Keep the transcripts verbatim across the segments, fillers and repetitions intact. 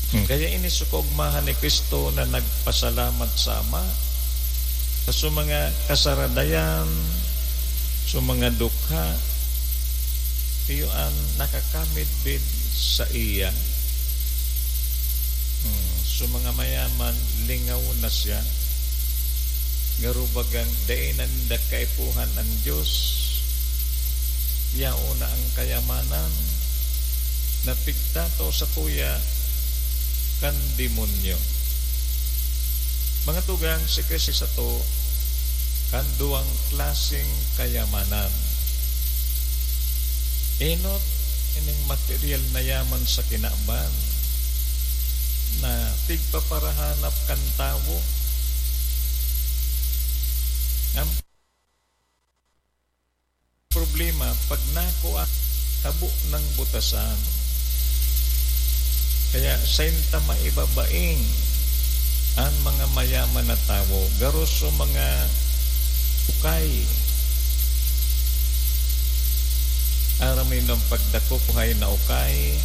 Hmm, kaya ini sa kaogmahan ni Cristo na nagpasalamat sa Ama, sa mga kasaradayan, sa mga dukha, iyo an nakakamidbid saiya. Hmm, sa mga mayaman, lingaw na siya. Garo bagang dai na ninda kaipuhan an Dios. Yaon na an kayamanan na pigtatao satuya kan demonyo. Mga tugang, si Cristo sato kan duwang klaseng kayamanan. Enot ining material na yaman sa kinaban na pigpaparahanap kan tawo. Ang problema, pag nakua, habo nang butasan. Kaya sainta maibabaing an mga mayaman na tawo, garo sa mga ukay. Aram nindo an pagdakop buhay na ukay.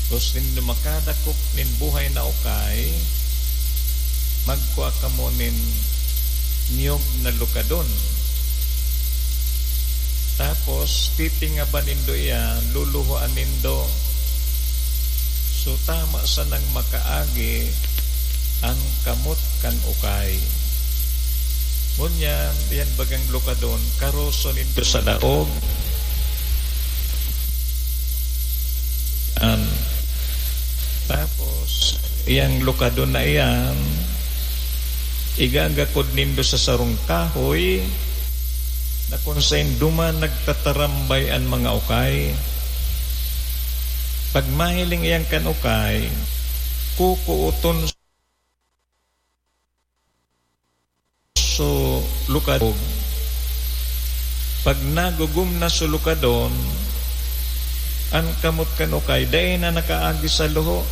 Kung nindo makadakop nin buhay na ukay, magkua kamo nin niyog na lukadon. Tapos, titingaban nindo iyan, luluhoan nindo. So, tama sanang makaagi an kamot kan ukay. Ngunyan, iyan bagang lukadon, karoso nindo sa daog. An, tapos, iyang lukadon na iyan, igagakod nindo sa sarong kahoy na kun saen duman nagtatarambay an mga ukay. Pag mahiling iyan kan ukay, kukuoton so lukadon. Pag nagugom na so lukadon, an kamot kan ukay dai na nakaagi sa luho.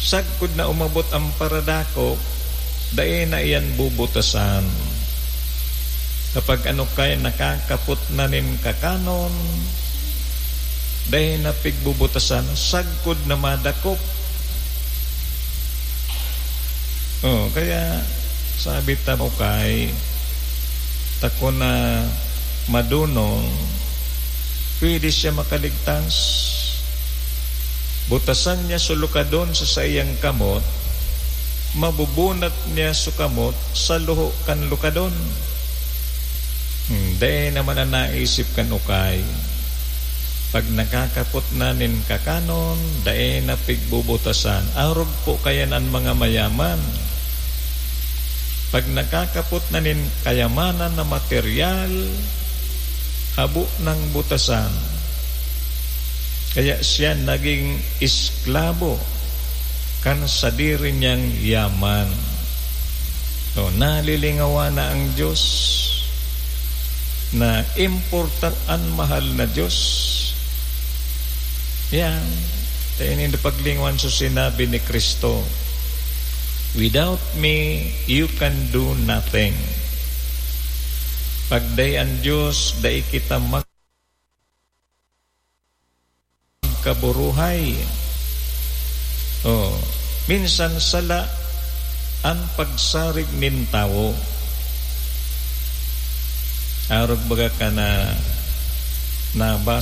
Sagkod na umabot an paradakop, dai na iyan bubutasan. Kapag an ukay nakakapot na nin kakanon, dai na pigbubutasan, sagkod na madakop. Oh, kaya sabi ta, ukay, ta kun na madunong, pwede siya makaligtas. Butasan niya so lukadon sa saiyang kamot, mabubunat niya so kamot sa luho kan lukadon. Hmm, dai naman an naisip kan ukay. Pag nakakapot na nin kakanon, dai na pigbubutasan. Arog po kayan an mga mayaman. Pag nakakapot na nin kayamanan na materyal, habo nang butasan. Kaya siya naging esklabo kan sadiri niyang yaman. So, nalilingawan na ang Diyos na importante an mahal na Diyos. Yan. Kaya nindo paglingawan sa sinabi ni Cristo, "Without me, you can do nothing." Pag dai an Diyos, dai kita mag-, kaburuhay. Oh, minsan sala an pagsarig nin tawo. Arog baga ka na nabasa